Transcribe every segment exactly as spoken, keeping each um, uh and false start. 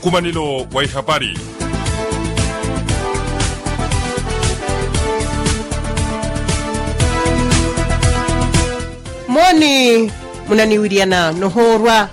Nkumanelo wa ihapari. Mooni, munaniwiriyana nohoorwa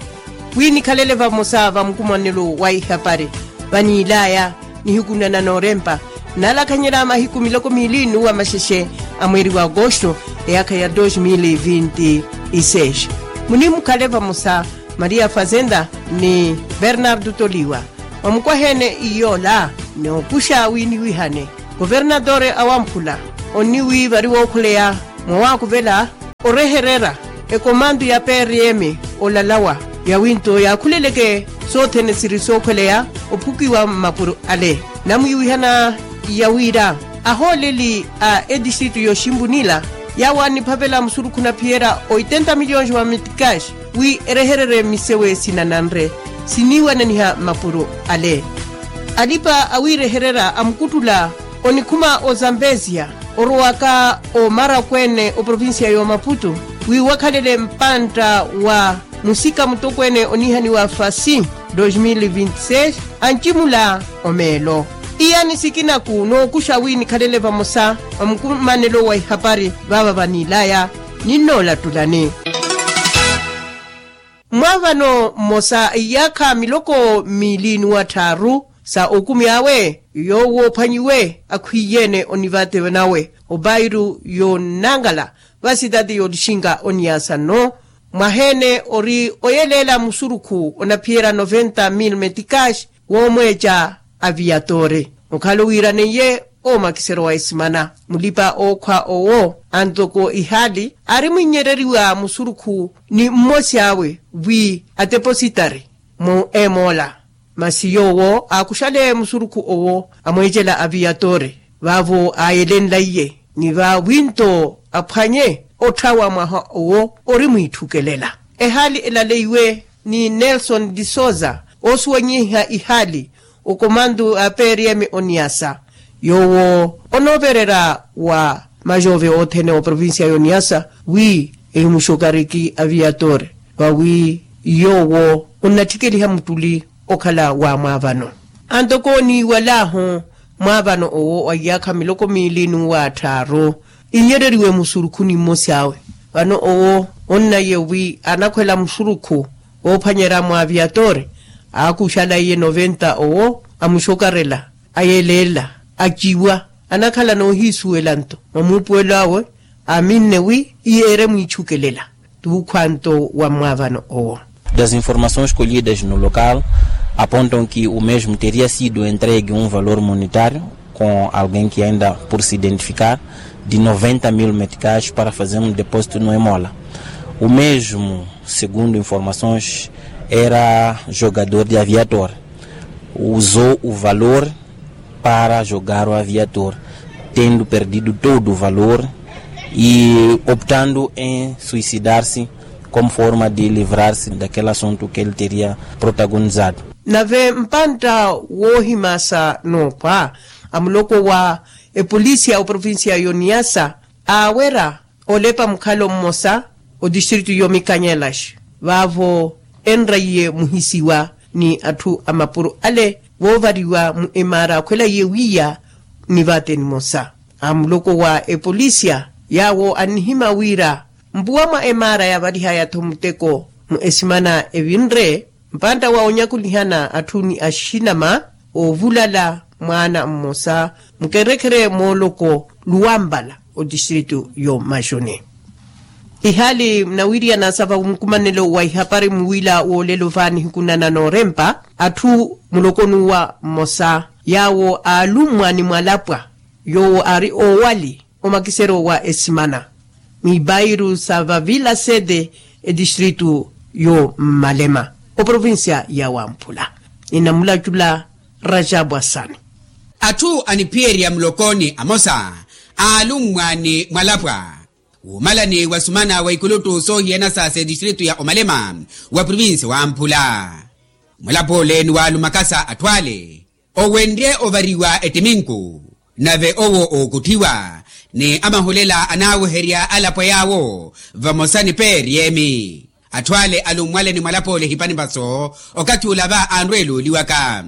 wi nikhalele vamosa va nkumanelo wa ihapari vaniilaya nihiku nana noorempa, nalakhanyela mahiku miloko miili nuwa maxexe a mweeri wa agosto, eyaakha ya dos mil e vinte e seis. Munimukhale vamosa, maria fazenda ni bernardo toliwa. Vamukwaheene iyoola, nookuxa wi niwihane, governatore awamphula oniwi vari wookhuleya mwawaakuvela orehererya ekomanto ya prm olalawa, yawinto yaakhuleleke sothene siri sookhweleya ophukiwa mmapuro ale. Namwiwihana ya wira ahooleli a etistritu yoximpunila, yawo aniphavela musurukhu naphiyerya oitenta miliyons wa mitikaxi wi erehererye misewe sinananre siniiwananiha mmapuro ale. Alipa awiirehererya amukuttula onikhuma ozambesia orowaka omarakweene oprovincia y'omaputu wi wakhalele mpantta wa musika mutokweene oniihaniwa fasi dos mil vinti seis, ancimula omeelo. Iyani sikinaku nookuxa wi nikhalele vamosa va mukumanelo wa ihapari vaava vaniilaya. Ninnoolattulani mwaavano mmosa iyaakha miloko miili nuwa tthaaru sa okumi awe yoowo ophwanyiwe akhwiiyeene onivate nawe opairu yonnankala va sitati yolixinka oniyaasa nno. Mwaheene ori oyeleela musurukhu onaphiyerya noventa mil metikaxi woomweeca aviyatore okhala owiiraneiye omakisero wa esimana. Mulipa ookhwa owo antoko ihaali aari mwinyereriwa musurukhu ni mmosi awe wi atepositari mu emoola. Masi yoowo aakuxale musurukhu owo amweecela aviyatore vaavo aayelenlaiye ni vaawinto aphwanye otthawa mwaha owo ori mwiitthukelela. Ehaali elaleiwe ni nelson de sousa oosuwanyiha ihaali okomantu a prm oniasa yoowo onoovererya wa majove othene oprovincia y'oniasa wi ehimuxokariki aviator vawi yoowo onnatthikeliha muttuli okhala wa mwaavano. Antoko oniiwalahu mwaavano owo wa iyaakha miloko miili n'uwa atthaaru inyereriwe musurukhuni mmosi awe. Vano owo onnaiye wi anakhwela musurukhu oophwanyerya mwa aviator aakuxalaiye noventa owo amuxokarela ayeleela aciwa anakhala noohiisuwela nto mwa muupuwelo awe. Aaminne wi iyeere mwiitthukelela tuukhwa nto wa mwaavano owo. Das informações colhidas no local apontam que o mesmo teria sido entregue um valor monetário com alguém que ainda por se identificar de noventa mil meticais para fazer um depósito no emola. O mesmo, segundo informações, era jogador de aviator, usou o valor para jogar o aviator, tendo perdido todo o valor e optando em suicidar-se como forma de livrar-se daquele assunto que ele teria protagonizado. Nave mpantta woohimasa noophwa amuloko wa epolisi ya oprovincia y'oniasa aawera olepa mukhalo mmosa otistritu y'omikanyelaxi vaavo enraiye muhisiwa ni atthu a mapuro ale voovariwa mu emaara akhwelaiye wiiya ni vaate nimosa. Amuloko wa epolisia yaawo annihima wira mpuwa mwa emaara yaavalihaya-tho muteko mu esimana evinre mpantta wa onyakulihana atthu ni axinama oovulala mwaana mmosa mukerekere mooloko luwampala otistritu y'omaxuni. Ihaali munawiriyana sa va nkumanelo wa ihapari muwiila woolelo va nihiku nana noorempa atthu muloko n'uwa mmosa yaawo aalummwa ni mwalapwa yoowo aari oowali omakisero wa esimana mwiipairu sa vavila sete etistritu y'omalema oprovincia ya wamphula. Ninamulacula rajabu asani. Atthu aniphiyerya mulokoni amosa aalummwa ni mwalapwa wuumalani wa sumana wa ikulutu soohiyana sa setistritu ya omalema wa provinsi wamphula. Mwalapwa ole ni waalumakasa atthu ale owenrye ovariwa ettiminku nave owo ookutthiwa ni amahulela anaaweherya alapwa yaawo vamosa ni peeriyemi. Atthu ale alummwale ni mwalapoole ehipani vaso okathi ula va anrweele oliwaka.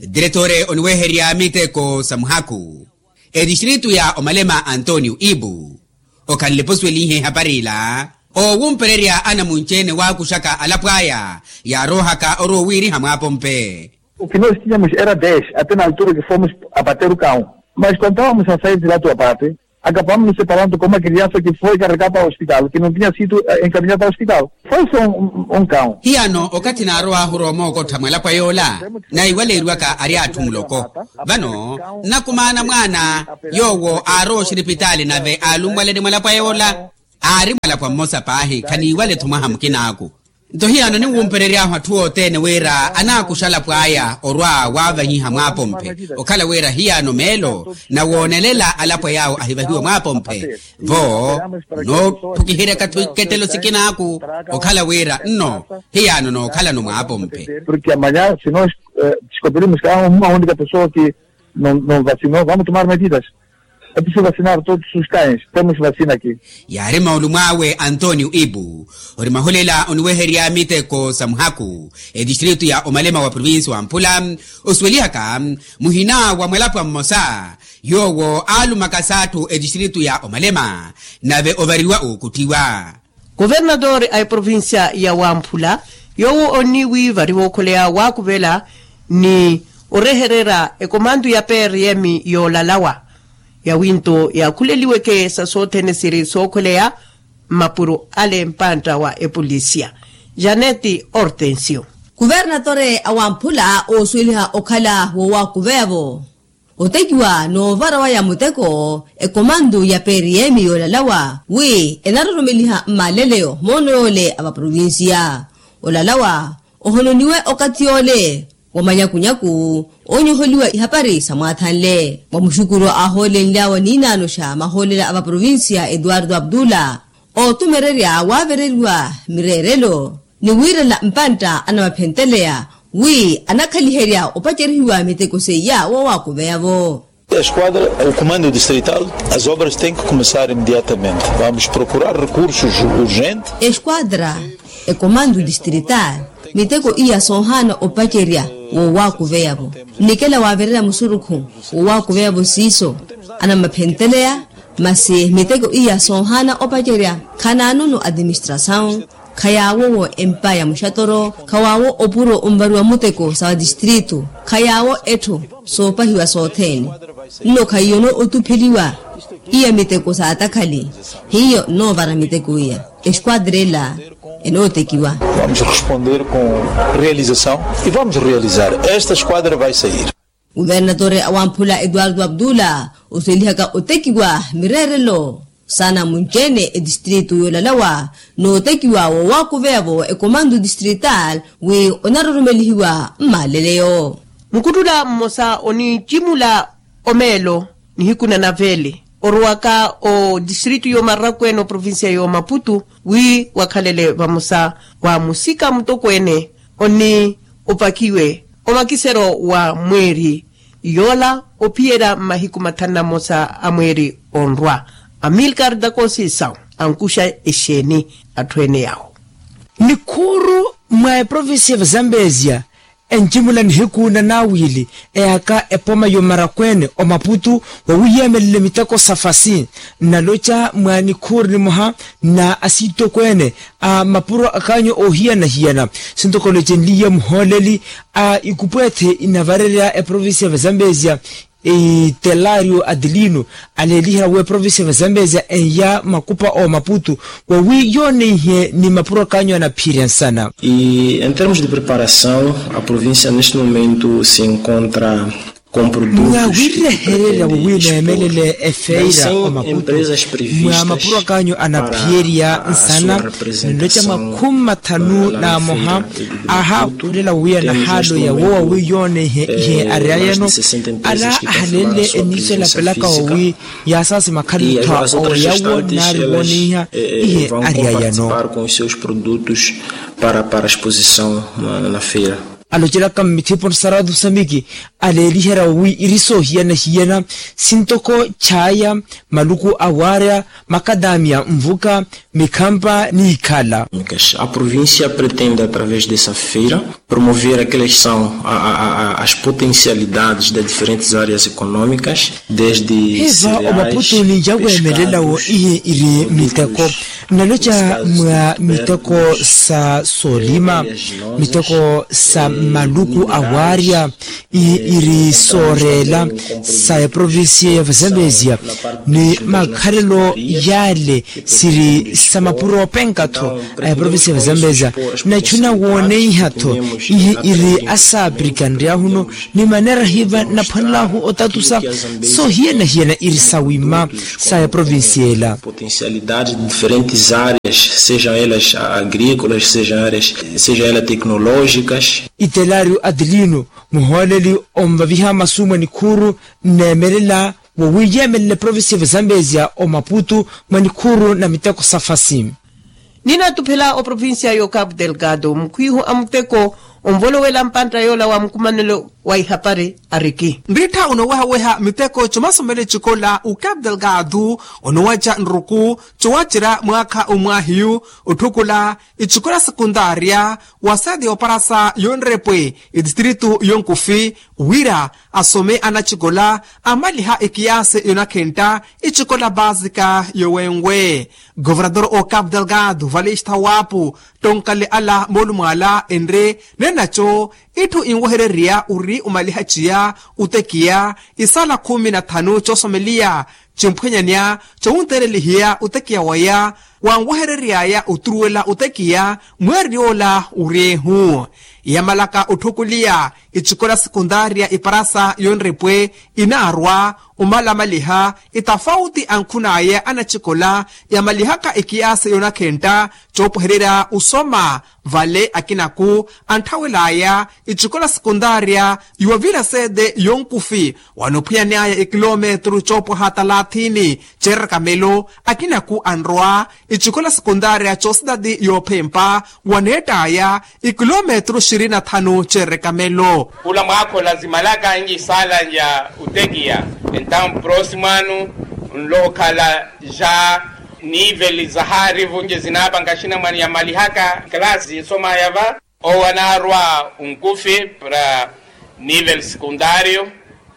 Diretore oniweherya miteko sa muhaku, etistritu ya omalema antonio ibu okhanle posuwelihe ehapari ila, oowumpererya anamunci-ene waakuxaka alapo aya yaaroohaka orowa owiiriha mwaapompe. O que nós tínhamos era dez, até na altura que fomos abater o cão. Mas quando estávamos a sair de lá do abate, acabaram nos separando como a criança que foi carregada ao hospital, que não tinha sido encaminhada ao hospital. Foi só um cão. Hiyano okathi naarowaahu oroomookotha mwalapo yoola, naiwaleeriwaka ari atthu muloko. Vano nnakumaana mwaana yoowo aarowa oxiripitaali nave aalummwaleni mwalapo yoola. Aari mwalapwa mmosa paahi khaniiwale-tho mwaha mukinaaku. Nto hiyano ninwumperery'ahu atthu othene wira anaakuxa alapwa aya orwa waavahiha mwaapomphe. Okhala wira hiyano meelo nawoonelela alapwa yaawo ahivahiwe mwaapomphe vo noothukiheryaka-tho ikettelo sikinaaku. Okhala wira nno hiyano nookhalano mwaapomphe. Porque amanhã se nós descobrirmos que há uma única pessoa que não vacinou vamos tomar medidas. Ati se vacinar todos os cães temos vacina aqui. Yaari maulumwaawe antonio ibu ori mahulela oniweherya miteko sa muhaku, etistritu ya omalema wa provincia wa mphula osuwelihaka muhina wa mwalapwa mmosa yoowo aalumaka s'atthu etistritu ya omalema nave ovariwa ookutthiwa. Kuvernatore a eprovincia ya wamphula yoowo oniwi vari wookholeya waakuvela ni orehererya ekomantu ya prm yoolalawa yawinto yaakhuleliweke sa sothene siri sookholeya mmapuro ale mpantta wa epolisia. Janeti hortensio. Kuvernatore a wamphula oosuweliha okhala woowakuveyavo otekiwa noovara waya muteko ekomantu ya prm yoolalawa wi enaroromeliha mmaleleyo moono yoole a vaprovincia. Olalawa ohononiwe okathi yoole wa manyakunyaku oonyoholiwa ihapari sa mwathanle wa muxukuru aahoolenlyawe niinaano xa mahoolela a vaprovincia eduardo abdula ootumererya waavereriwa mireerelo ni wiirela mpantta anamaphenteleya wi anakhaliherya opacerihiwa miteko seiya woowakuveyavo. Esquadra o comando distrital as obras tem que começar imediatamente vamos procurar recursos urgentes. Esquadra e comando distrital miteko iya soohaana opacerya woowakuveyavo nnikela waavererya musurukhu woowakuveyavo siiso anamaphenteleya. Masi miteko iya soohaana opacerya khanaanono atiministrasawu khayaawowo empa ya muxatoro khawaawo opuro onvariwa muteko sa vatistritu khayaawo etthu soopahiwa sothene. Nno khayiyono otupheliwa iya miteko saatakhali hiyo nnoovara miteko iya esquadra ela enootekiwa. Vamos responder com realização e vamos realizar esta esquadra vai sair. Kuvernatore a wamphula eduardo abdula osuwelihaka otekiwa mireerelo saana munci-ene etistritu yoolalawa nootekiwa woowakuveyavo ekomantu distrital wi onaroromelihiwa mmaleleyo. Mukuttula mmosa onicimula omeelo nihiku na navele orowaka otistritu yoomarakweene oprovincia yoomaputu wi wakhalele vamosa wa musika mutokweene oni opakiwe omakisero wa mweeri yoola ophiyerya mmahiku mathanu na mmosa a mweeri onrwa. Amilkar dakosi sawu ankuxa exeeni atthu ene yawo. Nikhuuru mwa eprovincia va zambezia encimula nihiku na naawili eyaka epoma yomarakweene omaputu wawiyeemelele miteko sa fasi nnaloca mwa nikhuuru nimoha na asiitokweene a mapuro akaanyu oohiyana-hiyana sintokolocenliye muhooleli a ikupweethe inavarerya eprovincia va zambezia itelario atilino aleeliherya wi eprovincia va zambezia eya makupa oomaputu wawi yooneihe ni mapuro akaanyu anaphiyerya nsana. E em termos de preparação a provincia neste momento se encontra com produtos mwa wirehererya wawi neemelele efeira omaputu mwa mapuro akaanyu anaphiyerya nsana nnoca mwa khumi mathanu na moha. Ahaakhulela wawi anahaaloya wo wawi yooneihe ihe aryayano ala ahalenle eniiso elapelaka wawi yaasaasi makhalelo tha oweyawo nari wooneiha ihe aryayano. Para para exposição na feira. alocelaka mmithipo ni saratu samiki aleeliherya wi iri soohiyana-hiyana sintoko chaaya, maluku a waarya, makadamiya, nvuka, mikhampa ni ikhala. A provincia pretende através dessa feira promover aquelas são as potencialidades das diferentes áreas económicas. Hiva omaputu ni yaweemelelawo ihi iri miteko nnaloca mwa miteko sa soolima, miteko sa maluku a waarya ihi iri sooreela sa eprovincia ya vazambezia ni makhalelo yaale siri sa mapuro openka-tho a eprovincia ya vazambezia. Nachu nawooneiha-tho ihi iri asaapirikanryahuno ni maneera hiva naphwanelahu otatusa soohiyana-hiyana iri sawima sa eprovincia ela. Potencialidades de diferentes áreas, sejam elas agrícolas, sejam elas tecnológicas. Itelario adelino muhooleli onvaviha masu mwa nikhuuru nneemelela wowiiyeemelela eprovincia ya vazambezia omaputu mwa nikhuuru na miteko sa fasi. Ninatuphela oprovincia yo capu delgado mukhwiihu a muteko onvolowela mpantta yoola wa mukumanelo wa ihapari ariki. Nriittha onoowehaweha miteko comasomele cikola u capu delgado onoowaca nruku cowacerya mwaakha omwaahiyu otthukula icikola sekundaria wa sede yoparasa yonrepwe itistritu yonkufi wira asome anacikola amaliha ekiyasi yonakhentta icikola basika yowenwe. Governador o capu delgado vale ixtha wapu tonkale ala moolumo ala enre nenaco itthu inwehererya ori omaliha ciya otekiya isala khumi na thanu coosomeliya cimphwenyanya cowunterelihiya otekiya waya wanwehereryaya oturuwela otekiya mweeri yoola oryehu. Yamalaka otthukuliya icikola sekundaria iparasa yonrepwe inaarwa omalamaliha itafauti ankhun'aya anacikola yamalihaka ekiyasi yonakhentta coopwehererya osoma vale akinaku antthawel'aya icikola sekundaria yuwavira sede yonkufi wanophwiyan'aya ekilometru coopwaha talathini ceeraka melo akinaku anrowa icikola sekundaria coositati yoophempa waneett'aya ikilometru xirini na thanu ceereka melo. Khula mwaakho lazimalaka nci sala nca utekiya entawu mprosimo anu nlohokhala ja niveli zahaari vunci zinaapanka axinamwane yamalihaka kalasi zinsomaya va owo anaarwa unkufi para niveli sekundario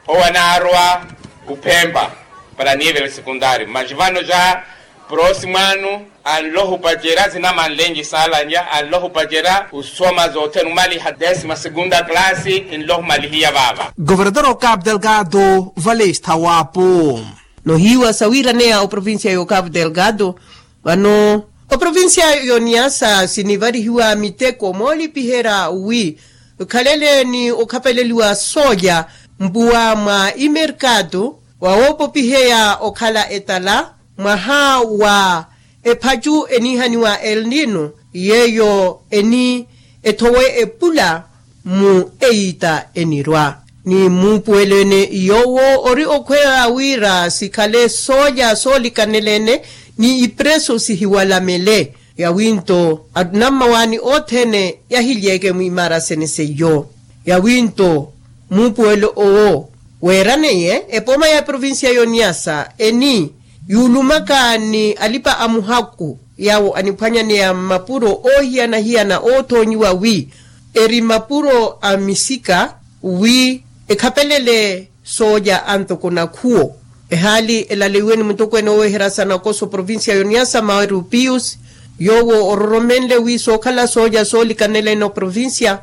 owo anaarwa uphempa para niveli sekundario maxi vano ja prosimo anu anlohupacerya zinamanlenci saalanya anlohupacerya usoma zothene umaliha desima segunda classe inlohumalihiya vaava. Governador o capu delgado vale esthawapu. Nohiiwa sawiiraneya oprovincia yo capu delgado vano oprovincia yo niasa sinivarihiwa miteko moolipiherya wi khalele ni okhapeleliwa sooja mpuwa mwa imerkatu wawoopopiheya okhala etala mwaha wa ephacu eniihaniwa elnino yeeyo eni ethowe epula mu eyiita enirwa ni muupuwelo ene yoowo ori okhweya wira sikhale sooja soolikanela ene ni ipreso sihiwalamele. Yawinto anammawaani othene yahilyeke mwimaara sene seiyo yawinto muupuwelo owo weeraneiye epooma ya provincia yoniasa eni yuulumaka ni alipa a muhaku yaawo aniphwanyaneya mmapuro oohiyana-hiyana oothoonyiwa wi eri mapuro a misika wi ekhapelele sooja antoko nakhuwo. Ehaali elaleiwe ni mutokweene oweherya sa nakoso provincia yoniasa maweru pius yoowo ororomenle wi sookhala sooja soolikanela ene oprovincia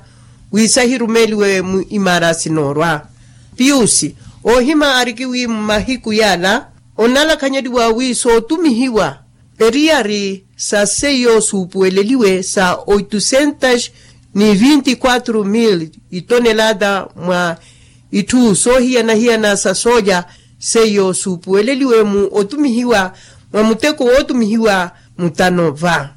wi sahirumeeliwe mu imaara sinoorwa. Pius oohima ariki wi mmahiku yaala onalakhanyeliwa wi sootumihiwa eriyari sa seiyo suupuweleliwe sa oitusentas ni vinti kwatru mil itonelata mwa itthu soohiyana-hiyana sa sooja seiyo suupuweleliwe mu otumihiwa mwa muteko wootumihiwa mutano va.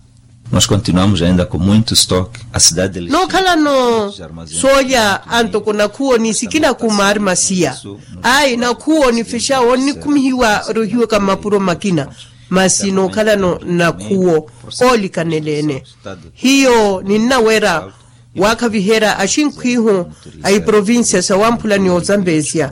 Nos continuamos ainda com muito stock a cidade de lisboa nookhalano sooja antoko nakhuwo ni sikina kumaari masiya ayi nakhuwo nifexa onnikhumihiwa rohiwaka mmapuro makina masi nookhalano nakhuwo oolikaneleene hiyo ninnaweera Waakhaviherya axinkhwihu a iprovincia sa wamphula ni ozambezia.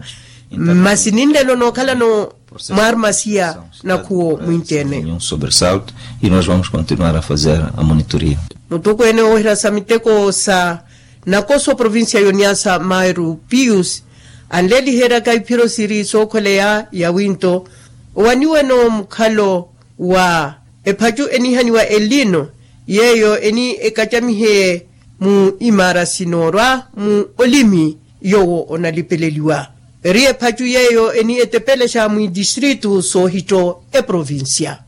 Masi ninlelo nookhalano mwaarumasiya nakhuwo mwinteene. Sobresalto. E nos vamos continuar a fazer a monitoria. Mutukweene wooherya sa miteko sa nakoso provincia yoniasa mairu pius anleliheryaka iphiro siri sookhweleya yawinto owaniweno mukhalo wa ephacu enihaniwa elino yeeyo eni ekacamihe mu imaara sinoorwa mu olimi yoowo onalipeleliwa eri ephacu yeeyo eni etepelexa mwidistritu soohitto eprovincia.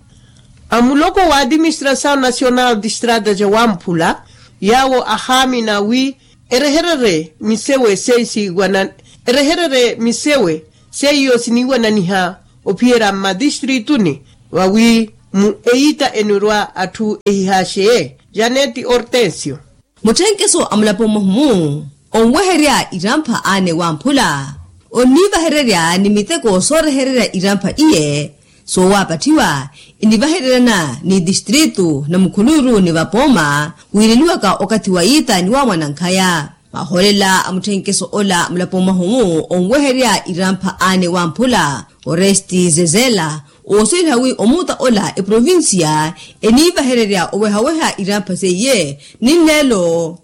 Amuloko wa administrasaw nasional distrata ja wamphula yaawo ahaamina wi erehererye misewe seisiiwana erehererye misewe seiyo siniiwananiha ophiyerya mmadistrituni vawi mu eyiita enurwa atthu ehihaxeye. Janeti ortensio. Mutthenkeso a mulapo mwahumu onweherya irampha aane wamphula onniivahererya ni miteko soorehererya irampha iye soowapatthiwa inivahereryana ni distritu na mukhuluru ni vapooma wiireliwaka okathi wa yiita ni wa mwanankhaya. Mahoolela a mutthenkeso ola mulapo mwahumu onweherya irampha aane wamphula oresti zezela oosweliha wi omuuta ola eprovincia eniivahererya owehaweha irampha seiye ninleelo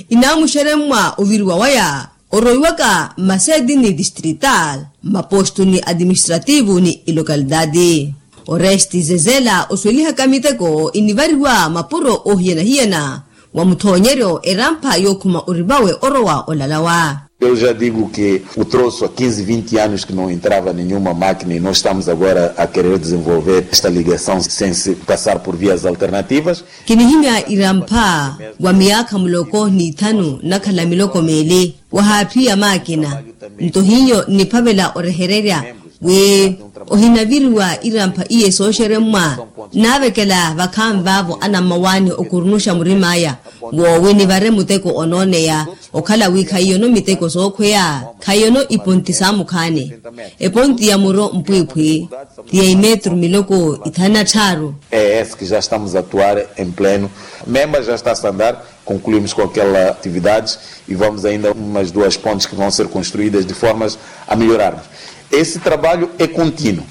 inaamuxeremmwa oviriwa waya oroiwaka mmaseeti ni distrital mmapostu ni administrativu ni ilokalidadi. Oresti zezela oswelihaka miteko inivariwa mapuro oohiyana-hiyana wa muthoonyeryo erampha yookhuma orivawe orowa olalawa. Eu já digo que o troço há quinze vinte anos que não entrava nenhuma máquina e nós estamos agora a querer desenvolver esta ligação sem se passar por vias alternativas. Kinihimya irampha wa miyaakha muloko n'ithanu nakhala miloko meeli wahaaphiya maakina nto hiyo nniphavela orehererya wi ohinaviriwa irampha iye sooxeremmwa naavekela vakhaani vaavo anammawaani okurunuxa murim'aya woowi nivare muteko onooneya okhala wi khaiyono miteko sookhweya khaiyono iponti saamukhaani eponti ya muro mpwiiphwi ti ya imetru miloko ithanu na tthaaru. É esse que já estamos a atuar em pleno. Memba já está a andar, concluímos com aquela atividade e vamos ainda umas duas pontes que vão ser construídas de formas a melhorarmos. Esse trabalho é contínuo.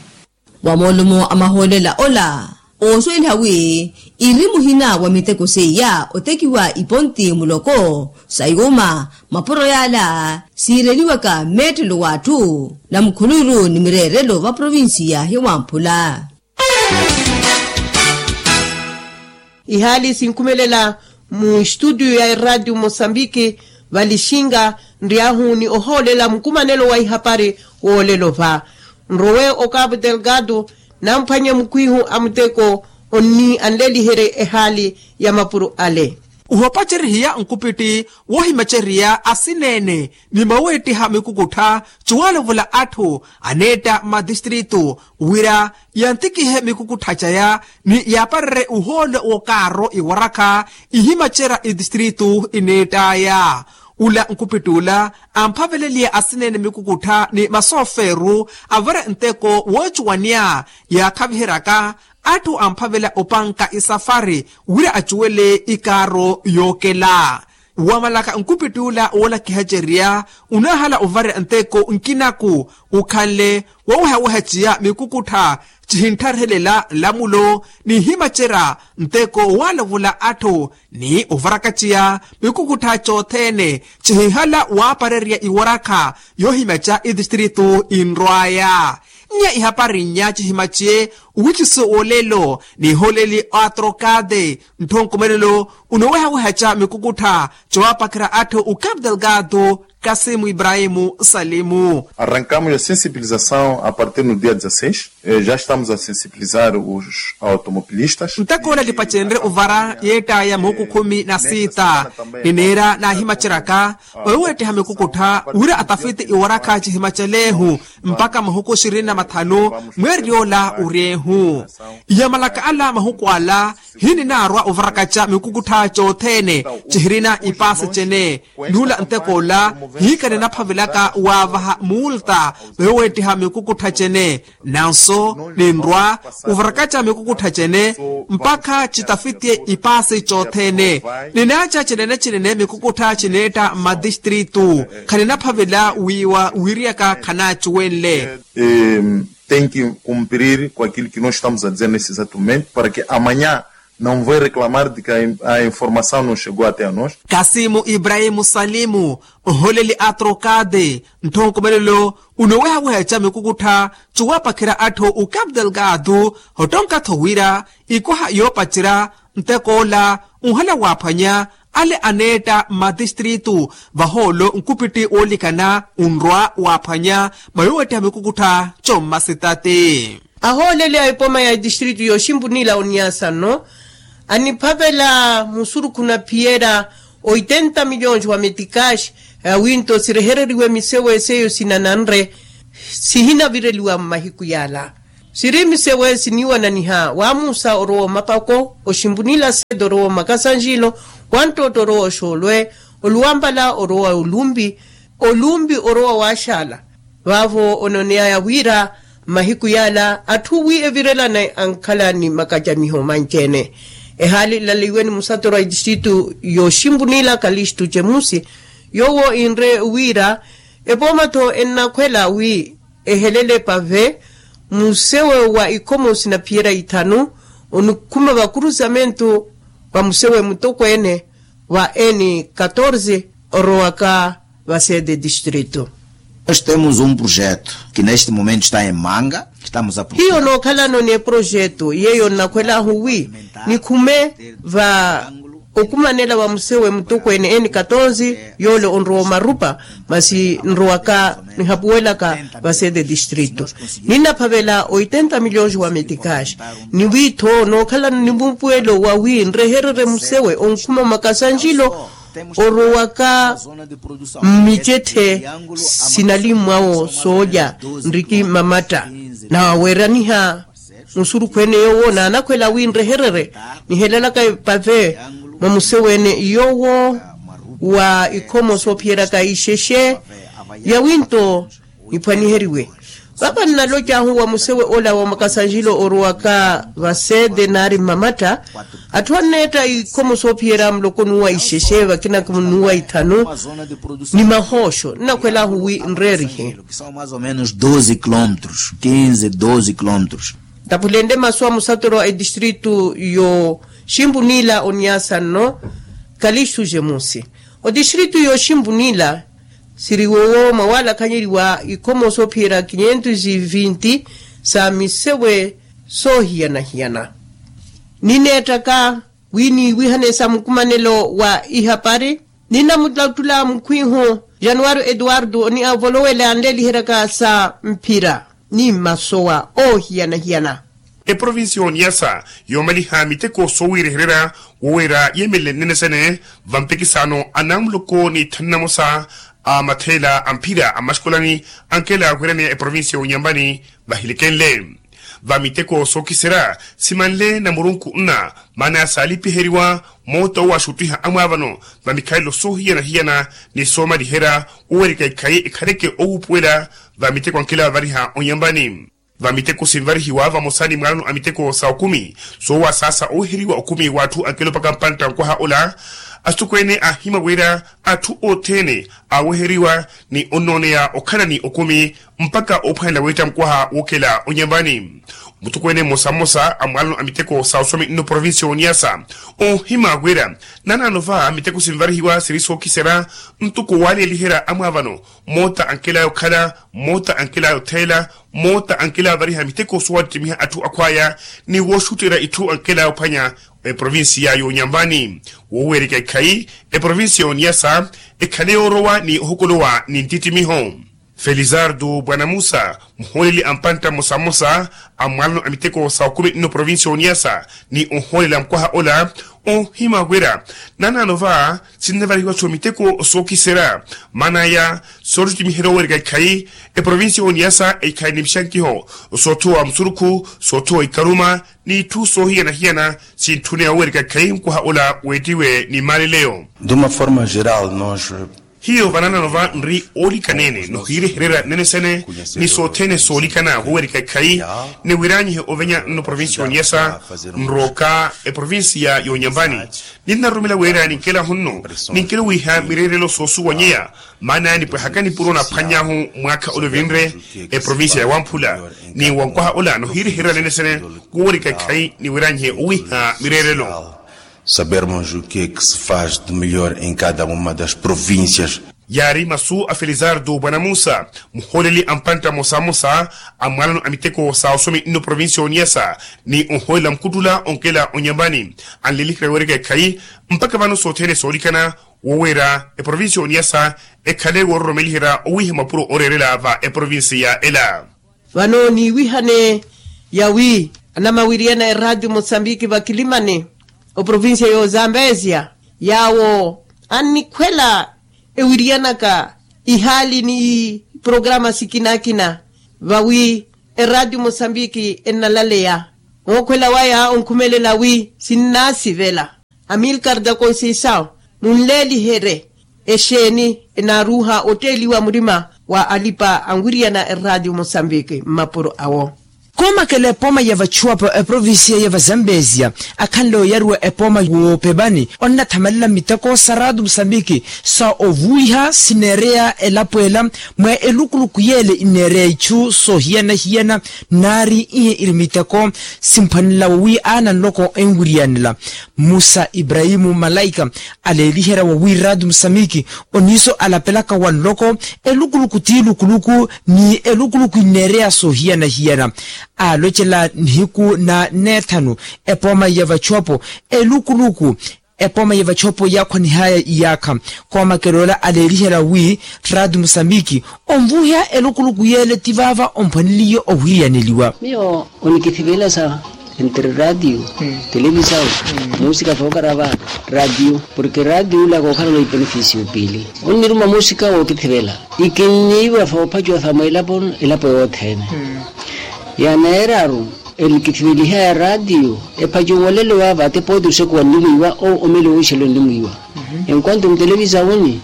Wa moolumo a mahoolela ola oosweliha wi iri muhina wa miteko seiya otekiwa iponti muloko sa yuuma mapuro yaala siireliwaka mmeettelo w'atthu na mukhuluru ni mireerelo va provincia ya hiwamphula. Ihaali sinkhumelela mu estudio ya eratiu mosambiki valixinga nryahu ni ohoolela mukumanelo wa ihapari woolelo va nrowe okapu delgado namphwanye mukhwihu a muteko onni anleliherye ehaali ya mapuro ale. Ohopacerihiya nkupitti wohimacerya asineene ni maweettiha mikukuttha cuwaalovula atthu aneetta madistritu wira yantikihe mikukuttha caya ni yaaparerye uhoolo w'okaaro iwarakha ihimacerya idistritu ineett'aya. Ula nkupitt'ula amphaveleliye asineene mikukuttha ni masoofeeru avare nteko woocuwaniya yaakhaviheryaka atthu amphavela opanka isafari wira acuwele ikaaro yookela. Wamalaka nkupitt'ula woolakihacerya onaahala ovarya nteko nkinaku okhanle wowehaweha ciya mikukuttha cihinttharihelela nlamulo nihimacerya nteko waalovola atthu ni ovaraka ciya mikukuttha cothene cihihala waaparerya iwarakha yoohimaca idistritu inrw'aya. Nnya ihapari nnya cihimaciye owikiso woolelo niholeli atrokade ntthu nkumelelo unowehawehaca mikukuttha cowaapakhira atthu ukapu delgado kasimu ibrahimu salimu. Arrancamos a sensibilização a partir no dia dezasseis. Já estamos a sensibilizar os automobilistas. Ntakoola lipacenre ovara yeett'aya muhuku khumi na siita nineera naahimaceryaka oweweettiha mikukuttha wira atafiti iwarakha cihimacel'ehu mpakha mahuku xirini na mathanu mweeriy'ola oryeehu. Mu iya malaka ala mahuku ala, hininaarwa ovarakaca mikukuttha cothene cihirina ipaasi cene. Nuula ntek'ola hiika ninaphavelaka waavaha muulta, veeweettiha mikukuttha cene. Nanso ninrwa ovarakaca mikukuttha cene mpakha citafitiye ipaasi cothene. Ninaaca cinene cinene mikukuttha cineetta mmatistritu. Khaninaphavela wiiwa wiiriyaka khanaacuwenle. Tem que cumprir com aquilo que nós estamos a dizer nesse exato momento para que amanhã não vai reclamar de que a informação não chegou até a nós. Kasimu ibrahimu salimu, oholeli a trokade, ntthonkomelelo unowehaweha ecami okukuttha, cuwapakhira atthu okapu delgado. Hottonka-tho wira ikwaha yoopacerya ntek'ola, unhala waaphwanya ale aneetta mmatistritu. Vahoolo nkupitti woolikana unrwa waaphwanya mayoowettiha mikukuttha commasitati. Ahooleli a epoma ya etistritu yooximpunila oniasa nno aniphavela musurukhu na phiyera oitenta milhões wa metikaxi, awinto sirehereriwe misewe seiyo sinananre sihinavireliwa mmahiku yala. Siri misewe siniiwananiha waamusa orowa omapako oximpunila sete orowa omakasanjilo, wanttootta orowa oxoolwe, oluwampala orowa olumpi, olumpi orowa waaxaala. Vaavo onooneyaya wira mmahiku yala atthu wi evirelane ankhala ni makacamiho manci-ene. Ehaali nlaliwe ni musatoro a etistritu yooximpunila kalistu cemusi, yoowo inre wira epooma-tho ennakhwela wi ehelele pave musewe wa ikhomo sinaphiyera ithanu onikhuma vakurusamentu va musewe mutokweene wa n catorze orowaka va sede distrito. Nós temos um projeto que neste momento está em manga. Hiyo nookhalano n'eprojeto yeeyo nnakhwel'ahu wi nikhume va okumanela wa musewe mutokweene n catorze yoole onrowa omarupa, masi nrowaka nihapuwelaka va sede distrito. Ninnaphavela oitenta milhões wa metikaxi ni wi-tho nookhalano ni mumpuwelo wa wi nrehererye musewe onkhuma makasanjilo orowaka mmicetthe sinalimmwawo soolya nriki mmamatta. Naweeraniha musurukhu ene yoowo naanakhwela wi nrehererye nihelelaka epave mwa musewe ene yoowo wa ikhomo soophiyeraka ixexe yawinto niphwaniheriwe. Vava nnalocahu wa musewe ola wa makasanjilo orowaka va sede naari mmamatta atthu anneetta ikhomo soophiyera muloko nuwa ixexe vakina nuwa ithanu ni mahooxo nnakhwel'ahu wi nreerihe. São mais ou menos doze quilômetros, quinze doze quilômetros. Ntaphulenle masu a musatoro a etistritu yooximpunila oniasa nno kalistu jemusi. Otistritu yooximpunila siri wowo mwawaalakhanyeriwa ikhomo soophiyerya quinhentos e vinte sa misewe soohiyana-hiyana. Nineettaka wi niiwihane sa mukumanelo wa ihapari. Ninamulattula mukhwihu januwari eduwardo ni avolowele anleeliheryaka sa mphira ni mmasowa oohiyana-hiyana. Eprovinsi y'oniyasa yoomaliha miteko soowiirehererya woweera yeemelele nnene sene vampekisaano a namuloko ni thanu namosa a matheela a mphira a mmaxikolani ankela wiraneya eprovinsi y'onyambani vahilekenle. Va miteko sookiserya simanle na murunku nna maana ya saalipiheriwa moota owaxuttiha amwaavano va mikhalelo soohiyana-hiyana ni soomaliherya wowerika ikhayi ekhaleke owuupuwela va miteko ankela vavariha onyambani. Va miteko sinvarihiwa vamosa ni mwaalano a miteko sa okumi soowasaasa oweheriwa okumi w'atthu ankela opaka mpantta nkwaha ola. Asitokweene aahima wira atthu othene aaweheriwa ni onnooneya okhala ni okumi mpakha oophwanela weetta mukwaha wookela onyambani. Mutokweene mmosa mmosa a mwaalano a miteko sa osomi nno provinsi y'oniyasa oohima wira nanaano va miteko sinvarihiwa siri sookiserya ntoko waaleeliherya amwaavano moota ankelaya okhala moota ankelaya otheela moota ankelaya ovariha miteko soowattittimiha atthu akhwaya ni wooxutterya itthu ankelaya ophwanya eprovinsiya y'onyambani. Woowerika ikhayi eprovinsiya y'oniyasa ekhale yoorowa ni ohokolowa ni ntittimiho. Felizardo bwana musa, muhooleli a mpantta mmosa mmosa a mwalano a miteko sa okumi nno provincia ya oniasa, ni ohoolela mukwaha ola, ohima wira nanaano va sinnavarihiwa-tho miteko sookiserya. Maana aya, soottittimiherya oweereka ikhayi, eprovincia ya oniasa ekhale ni mixankiho soothowa musurukhu, soothowa ikaruma, n'itthu soohiyana-hiyana sintthune oweereka ikhayi mukwaha ola weettiwe ni maaleleyo. D'uma forma geral nos. Hiyo vananano va nri oolikaneene nohiirehererya nene sene, ni sothene soolikana woweereka ikhayi. Niwiranyihe ovenya nno provincia ya oniasa, nrooka eprovincia ya onyambani. Ninnaroromela wira ninkela hunnu, ninkela owiiha mireerelo soosuwanyeya. Maana nipwehaka nipuro naphwany'ahu mwaakha ole ovinre, eprovincia ya wamphula ni wankwaha ola nohiirehererya nene sene, woweereka ikhayi niwiranyihe owiiha mireerelo. Sabermos o que é que se faz de melhor em cada uma das províncias. Yaari masu a felizardo bwana musa, muhooleli a mpantta mmosa mmosa a mwalano a miteko sa osomi nno provincia ya oniasa, ni ohoolela mukuttula onkela onyambani, anleliherya weereka ikhayi. Mpakha vano sothene soolikana woweera eprovincia ya oniasa ekhale woororomeliherya owiiha mapuro ooreerela va eprovincia ela. Vano niiwihane yawi anamawiriyana eradio mosambiki vakilimani, oprovincia y'ozambezia, yaawo annikhwela ewiriyanaka ihaali ni iprograma sikina-kina, vawi eradio mosambiki ennalaleya. Mookhwela waya onkhumelela wi sinnaasivela. Amilcar da conceição, munleeliherye exeeni enaaruuha otteeliwa murima wa alipa anwiriyana eradio mosambiki mmapuro awo. Koomakela epooma ya vachuwapo eprovincia ya vazambezia, akhanle oyariwa epooma woopepani onnathamalela miteko sa raatu mosambiki sa ovuwiha sineereya elapo ela mwa elukuluku yeele ineereya ichu soohiyana-hiyana. Naari ihe iri miteko simphwanela wowi aana nloko enwiriyanela. Musa ibrahimu malaika aleeliherya wowi raatu mosambiki oniiso alapelaka wa nloko, elukuluku ti lukuluku ni elukuluku ineereya soohiyana-hiyana. Aalocela nihiku na neethanu epooma ya vachuwapo elukuluku epooma ya vachuwapo yaakhwanihaya iyaakha. Koomakela ola aleeliherya wi raatu mosambiki onvuwiha elukuluku yeele ti vaava omphwaneliye owiriyaneliwa. Miyo onikithivela sa entre radio, televisao, musika fookarava radio, porke radio ula kookhala ola ipenefisio piili onniruma musika wookithivela. Ikinniiwa foophacuwa sa mweelapo elapo yoothene. Yaneeraru enikithiveliha ya radio ephacuwolelo vaava ate pooti osekuwa nnimwiiwa oo omelo wooxelo nnimwiiwa. Enquanto mutelevisaoni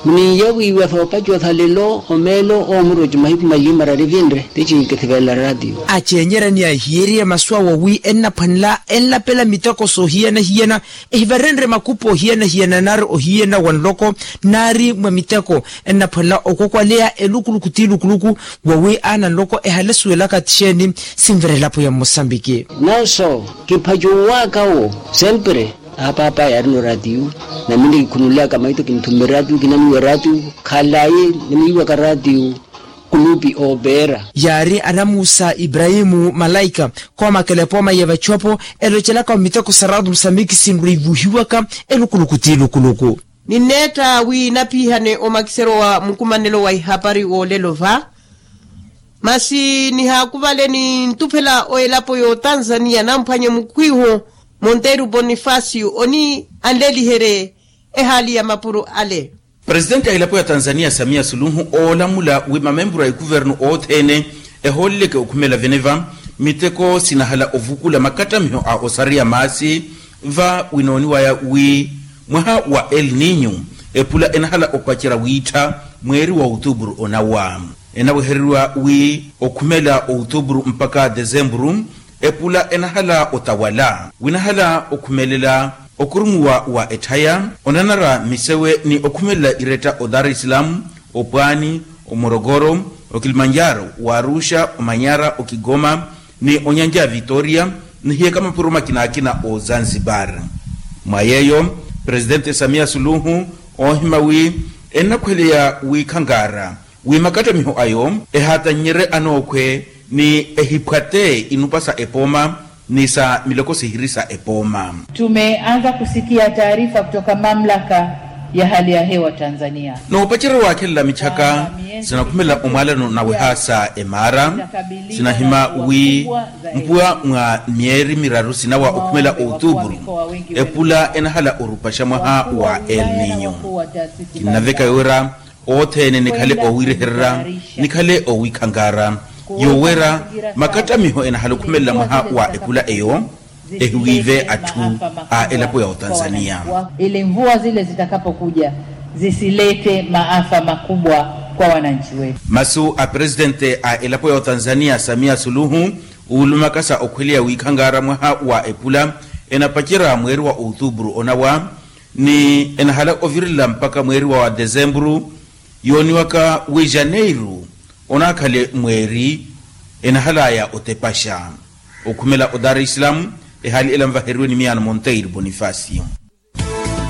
muninyawiiwa soopacuwa sa lelo omeelo oomuro ci mahiku maili maraari vinre. Tici nkithivelela ratio. Acenyerya ni ahiyeriye masu awo wi ennaphwanela enlapela miteko soohiyana-hiyana, ehivarenrye makupu ohiyana-hiyana naari ohiyana wa nloko, naari mwa miteko ennaphwanela okokwaleya elukuluku ti lukuluku. Wowi aana nloko ehale suwelaka ti xeeni sinvira elapo ya mmosambiki. Nanso kiphacuwaka wo sempre. Apaapa yaarina oratiu, na minre kikhunulaka maito kinthumme ratiu kinamwiiwa ratiu. Khalayi nimwiiwaka ratiu. Kulupi oopera. Yaari anamuusa ibrahimu malaika koomakela epooma ya vachopo elocelaka miteko sa ratiu musambiki sinrwiivuhiwaka elukuluku ti lukuluku. Ninneetta wi napiihane omakiseryo wa mukumanelo wa ihapari woolelo va. Masi nihaakuvale nintuphela o elapo y'otanzaniya namphwanye mukhwiihu monteiro bonifasio oni anleliherye ehaali ya mapuro ale. Presitenti a elapo ya tanzaniya samiya suluhu oolamula wi mamempuru a ikuvernu othene ehooleleke okhumela veneva miteko sinahala ovukula makattamiho a osariya maasi. Va winooniwaya wi mwaha wa el ninyu epula enahala opacerya wiittha mweeri wa outuburu onawa. Enawehereriwa wi okhumela outuburu mpakha desemburu epula enahala otawala winahala okhumelela okurumuwa wa etthaya onanara misewe ni okhumelela iretta o dar es salaam, opwaani, omorokoro, okilimanjaro, waaruxa, omanyara, okigoma ni onyanja ya vitoria nihiyaka mapuro makina akina o zanzibar. Mwa yeeyo presitenti samiya suluhu oohima wi ennakhweleya wi khankaara wi makattamiho ayo ehaatanyerye anookhwe ni ehiphwate inupa sa epooma ni sa miloko sihiri sa epooma. Tumeanza kusikia taarifa kutoka mamlaka ya hali ya hewa tanzania. Noopacerya waakhelela mitthaka Sinakhumela omwaalano naweha sa emaara, sinahima wi mpuwa mwa myeeri miraru sinawa okhumela otuupuru, epula enahala orupaxa mwaha wa el ninyo. Kinnaveka yowera othene nikhale owiirehererya, nikhale owiikhankaara, yowera makattamiho enahala okhumelela mwaha wa epula eyo, ehiwiive atthu a elapo ya otanzania. Ili mvua zile zitakapokuja zisilete maafa makubwa kwa wananchi wetu. Masu a presidente a elapo ya otanzania samia suluhu, uulumaka sa okhweleya wiikhankaara mwaha wa epula enapacerya mweeri wa otuupuru onawa, ni enahala ovirela mpakha mweeri wa desempuru, yooniwaka wi janeiru onaakhale mweeri enahalaya otepaxa. Okhumela o dar es salaam, ehaali ela nvaheriwe ni miyaano monteiro bonifacio.